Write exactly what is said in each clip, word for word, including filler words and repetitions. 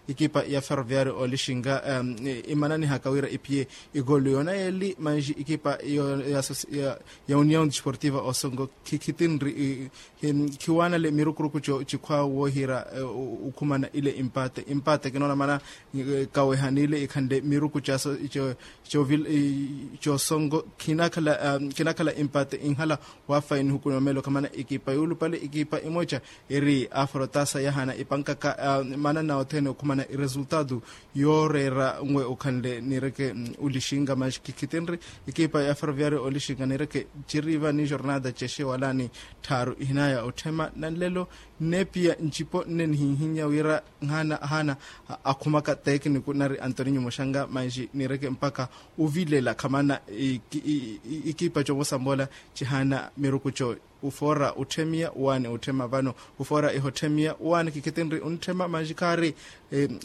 Ikipa ya ferroviario olixinga imananihaka wira iphiye igolu yona yeli manji ikipa ya union desportiva osongo khikhitinri khiwanale mirukuruku cikhwa wohira ukhumana ile impate impate kinoona mana kawehanile ikhanle miruku cosongo khinakhala impate inhala wafaini hukunomelo khamana ikipa yulupale ikipa imoca eri afrotasa yahana ipankaka manana othene okhumana iresultado yooreera nwe okhanle nireke ulixinga maxi khikhitinri ikipa ya ferroviario olixinga nireke ciriva ni jornada cexe wala ni tthaaru ihinaya otthema nanlelo nneepiya ncipo nne nihinhinya wira nhana hana akhumaka tekiniku nari antoninyo moxanga maxi nireke mpaka ovilela khamana ikipa comosambola cihana miruku co ufoora otthemiya waani otthema vano ufoora ihotthemiya waani khikhitinri ontthema manji khaari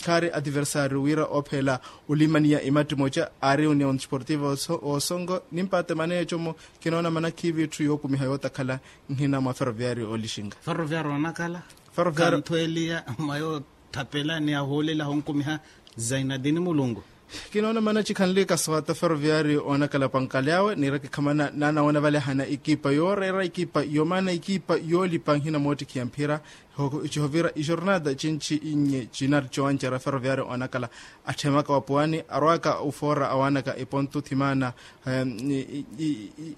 khaari adversario wira oophela olimaniya imatthi moca aari union desportiva osongo nimpaate maneeco-mo kinoona mana khiivi etthu yookumiha yootakhala nhina mwa ferroviario olixinga ferroviario onakala kanthweliya mwa yoothapela ni ahoolela honkumiha zainadini mulungu kinoona mana cikhanle kaswata ferroviario oonakala pankali awe niireke khamana naanawoona vale ahana ikipa yooreera ikipa yomaana ikipa yoolipa nhina moottikhiya mphira cihovira ijornada cinci inye cinari cowancerya ferroviario oonakala atthemaka wapuwani arwaaka ufoora awaanaka ipontu thimaana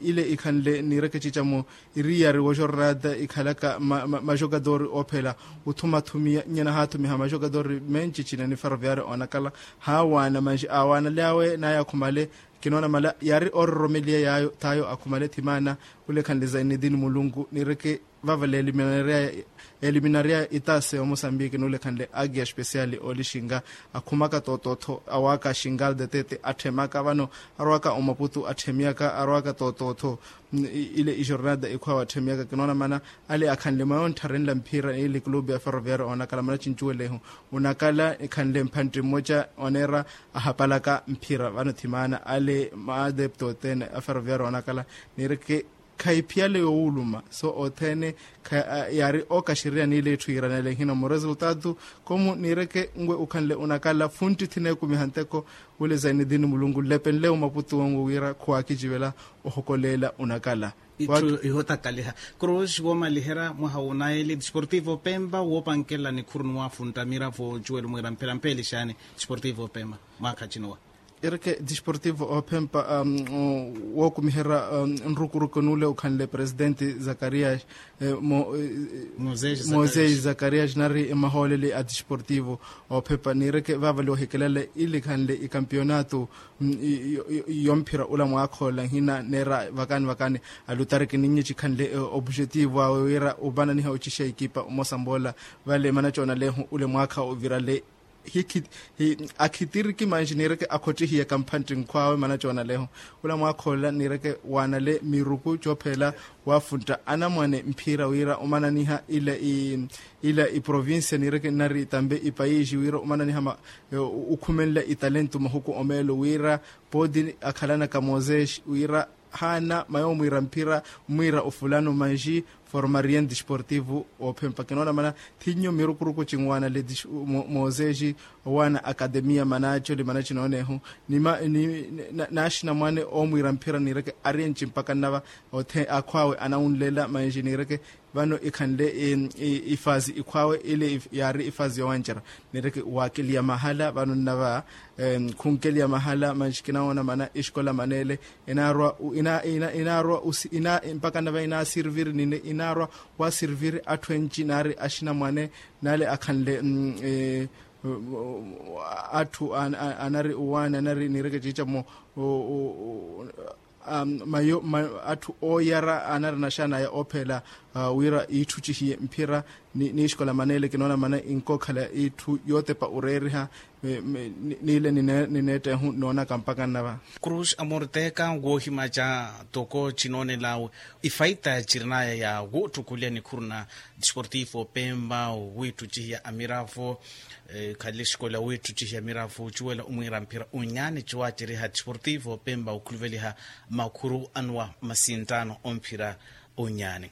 ile ikhanle niireke cica-mo iriyari wojornada ikhalaka majogadori oophela othumathumiya nyana haathumiha majogadori menci cina ni ferroviario oonakala haawaana manji aawaanale awe naye akhumale kinoona mala yaari oororomeliya yaayo taayo akhumale thimaana khulekhanle zainedini mulungu niireke vavale eliminaria itaase ya mosambiki nuulekhanle agia especiali oolixinga akhumaka tootootho awaaka xingal de tete atthemaka vano arwaaka omaputu atthemiyaka arwaaka tootootho ile ijornada ikhwaawe atthemiyaka kinoona mana ale akhanle mwa yonttharenla mphira ile clube ya ferroviario oonakala mana cincuwelehu onakala ikhanle mphantti mmoca oneera ahapalaka mphira vano thimaana ale maadepto othene a ferroviario oonakala niireke khayiphiyale yoowuluma so othene yaari ookaxiriya niile etthu yiiranele nhina muresultado komu niireke nwe ukhanle onakala funtti thineekumiha nteko wile zainedini mulungu nlepenle omaputu onwe wira khuwaakicivela ohokoleela onakala itthu ihotakaliha cruz woomaliherya mwaha woonaye ile desportivo pempa woopankela nikhuru ni waafuntta miravo ocuwela omwiira mphira mpeelixaani desportivo pempa mwaakha cinuwa ireke desportivo ophempa wookumiherya nrukuruku nuule okhanle presidenti zakarias mosesi zakarias nari mahooleli a desportivo ophempa niireke vaavali ohikelele ilikhanle ikampionato yomphira ula mwaakhoola nhina neera vakani vakani alutariki ninye cikhanle opujetivo awe wira opananiha ocixa ikipa omosa mboola vale mana coonalehu ule mwaakha ovirale akhitiriki manji niireke akhottihiye kamphantti nkhwaawe mana coonaleho ula mwaakhoolela niireke waanale miruku coophela waafuntta anamwane mphira wira omananiha ila iprovincia niireke nnari tampe ipayiixi wira omananiha okhumenla italento mahuku omeelo wira pooti akhalanaka moses wira haana mayo omwiira mphira omwiira ofulano manji formarien desportivo oophempa kinoona mana thinnyu mirukuruku cinwaanale mooseji owaana akatemiya manacoli mana cinoonehu naaxina mwaane oomwiira mphira niireke arienci mpaka nnava akhwaawe anawunlela manji niireke vano ikhanle ifazi ikhwaawe ile yaari ifazi yowancerya niireke waakeliya mahala vano nnava khunkeliya mahala manji kinawoona mana exikola maneele inaarwa mpaka nava inaasiriviri nine inaarwa waasiriviri atthu enci naari axinamwane naale akhanle atthu anari owaani anari niireke ciicamo mayo atthu ooyara anari naxanaya oophela wira iitthu cihiye mphira ni exikola maneele kinoona mana inkookhala itthu yootepa oreeriha niile nineettehu noonaka mpaka nnava cruz amorteka woohimaca toko cinoonel'awe ifaita cirin'aya ya woottukuliha nikhuru na desportivo pemba wiitthucihiya amiravo khale exikola wiitthucihiya amiravo ocuwela omwiira mphira onyaani ciwaaceriha desportivo pemba okhuluveliha makhuru anuwa masinttaano omphira onyaani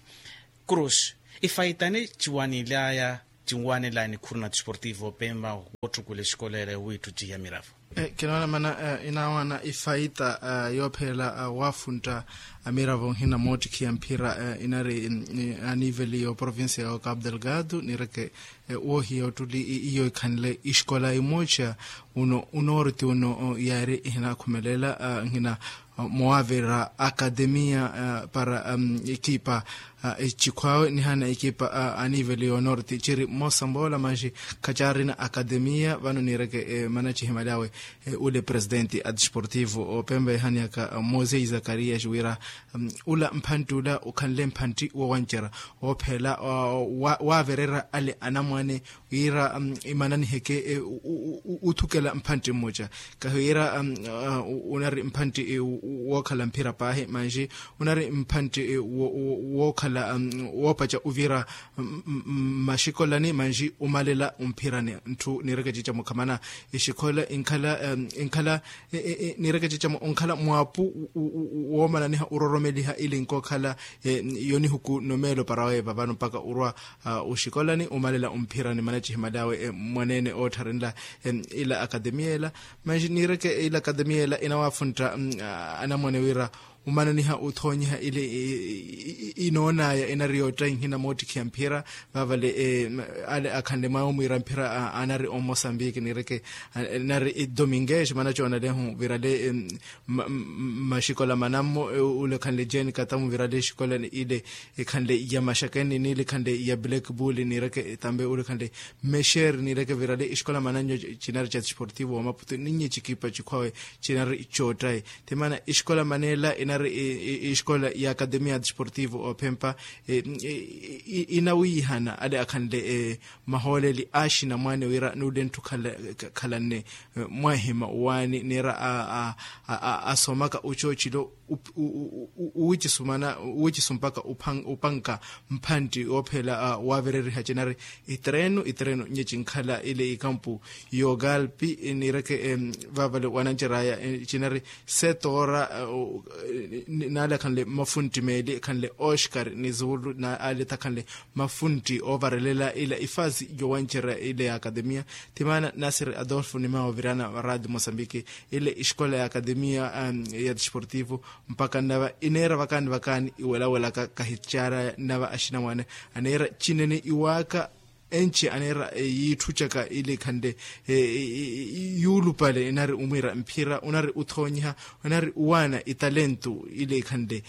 cruz ifaitani ciwanil'aya Cinwaanela nikhuru na tisportivo pemba wootthukulela exikola ela wiittuttihiya miravo. Kinoona mana inaawana ifaita yoopheela waafuntta amiravo nhina moottikhiya mphira inari aniveli y'oprovincia ya cabo delgado niireke woohiya ottuli iyo ikhanle exikola imooca. Uno unoorti uno yaari ihinakhumelela nhina mowaavirira akademiya para ekipa ecikhwaawe nihana ekipa aniveli yoonorti ciri mmosa mboola manxi khacaarina akademiya vano niireke manacihimali awe. Ule presidenti a desportivo opempa ehaniyaka mose zakarias wira ula mphantti ula ukhanle mphantti wowancerya woopheela waavirira ale anamwane wira imananiheke uthukela mphantti mmoca. Kahiwira unari mphantti wookhala mphira paahi manxi unari mphantti wookhala woopaca uvira maxikolani manxi umalela umphirani. Ntthu niireke cicamo khamana exikola inkhala inkhala niireke cicamo onkhala mwaapu woomananiha uroromeliha ili nkookhala yonihuku nomeelo para weeva vano mpaka urwa oxikolani umalela umphirani manacihimali awe mwaneene oottharenla ila akademiya ela. Manxi niireke ila akademiya ela inawaafuntta anamwane wira umananiha uthoonyiha ile inoonaya inari yootta inhina moottikhiya mphira. Vaavale ale akhanle mwawe omwiira mphira anari omosambiki niireke nari domingues manacoonalehu virale maxikola manammo ule khanle jeni katamu virale exikola ile ikhanle ya maxakeni niile ikhanle ya black bull niireke tambe ule khanle mexer niireke virale exikola mananyo cinari ca desportivo wa maputo ninnye cikipa cikhwawe cinari coottayi. Ti maana exikola maneela inari exikola ya akademiya desportivo ophempa inawiihana ale akhanle mahooleli axinamwane wira nuule ntthu khalanne mwahima waani niira asomaka ucoocilo uwicisumpaka upanka mphantti oopheela waavireriha cinari itereno itereno nye cinkhala ile ikampu y'ogalpi niireke vaavale wananceraya cinari setoora naale akhanle mafuntti meeli akhanle oscar ni zuulu naale takhanle mafuntti oovarelela ila ifaasi yowancerya ile ya akademiya. Ti maana nasiri adolfo nimawa ovirana radio mosambiki ile exikola ya akademiya ya desportivo mpaka nnava ineera vakaani vakaani iwelawelaka kahicaaraya nnava axinamwane aneera cinene iwaaka enci aneera yiitthucaka ile ikhanle yuulupale inari umwiira mphira unari uthoonyiha unari uwaana italentu ile ikhanle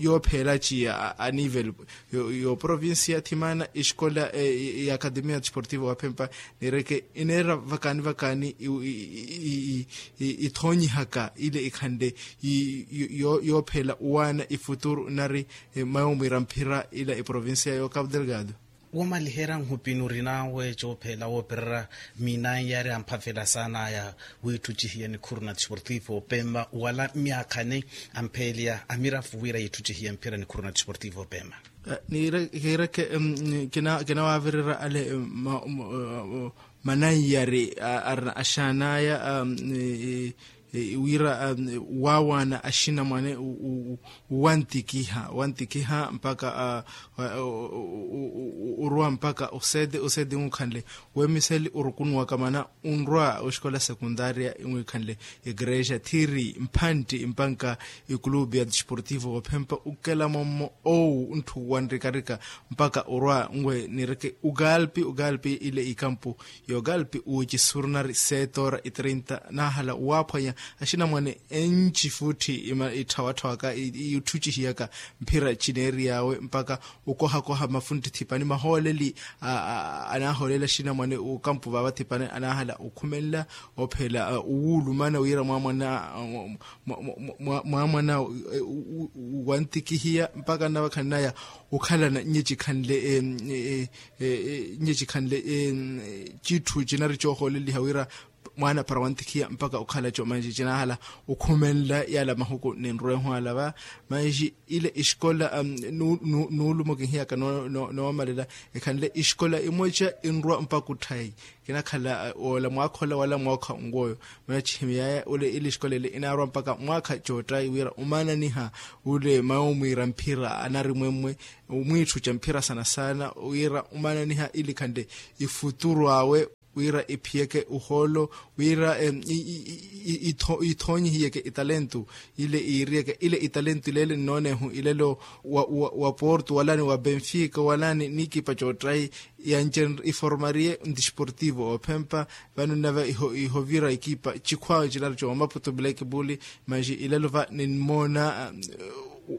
yoopheela ciya aniveli y'oprovincia thimana exikola y'akademiya desportivo waphempa niireke ineera vakaani vakaani ithoonyihaka ile ikhanle yoopheela uwaana ifuturu nari mwawe omwiira mphira ila iprovincia y'ocapo delgado. Woomaliherya nhupini orinawe coopheela woopererya miinanyi yaari amphavela saanaya wiitthucihiya nikhuru na desportivo opempa wala myaakhani ampheeliya amirafu wira yiitthucihiya mphira nikhuru na desportivo opempa. Niireke kinawaavirira ale mananyari arina axaanaya wira waawaana axinamwane wantikiha wantikiha mpaka orwa mpaka osete osete nkhanle wemiseli orukunuwaka mana onrwa oxikola sekundaria nwikhanle igreja thiri mphantti mpanka ikulubi ya desportivo ophempa ukela mommo owu ntthu wanrikarika mpaka orwa nwe nireke ugalpi ugalpi ile ikampu yogalpi uwici surnari setora itrinta nahala waphwanya axinamwane enci futhi itthawattha waka itthucihiyaka mphira cineeriyawe mpaka okohakoha mafuntti thipani mahooleli anahoolela axinamwane okampu vava thipani anahala okhumenla ophela owulumana wira mwamwana mwamwana wantikihiya mpaka nnavakhaninaya okhalana nnyecikhanle nnyecikhanle citthu cinari coohooleliha wira Mwaana para wantikhiya mpakha okhala comanji cinahala okhumenla yala mahuku ninrwehu alava. Manji ile esikola nuulumo kinhiyaka noomalela ekhanle esikola imweca inrwa mpakha otthayi. Kinakhala ola mwaakha ola wala mwaakha onwoyo. Muna cihimiyaya ule ile esikola ile inaarwa mpakha mwaakha coottayi wira omananiha ule mayo mwiira mphira anarimwemmwe mwiitthu ca mphira sana sana wira omananiha ili khanle ifuturu awe wira iphiyeke ohoolo wira ithoonyihiyeke italentu ile iiriyeke ile italentu ileele nnoonehu ilelo wa porto wala ni wa benfica wala ni niikipa coottayi. Yanci iformariye ntisportivo ophempa vano nnava ihovira ikipa cikhwawe cinaru comaputo black bull. Manji ilelo va ninmoona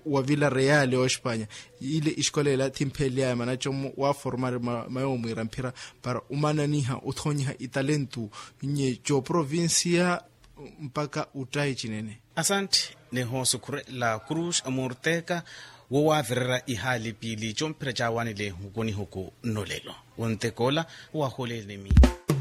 wa villa real ospanya ile isikola ela thimpheliyaye manacomu waformari mayo mwiira mphira para umananiha othoonyiha italentu nye coprovincia mpakha uttayi cinene. Asanti. Nihosukhurela cruz amorteka wowaavirera ihaali piili comphira caawanile ehukunihuku nnolelo wontekoola waholenimi.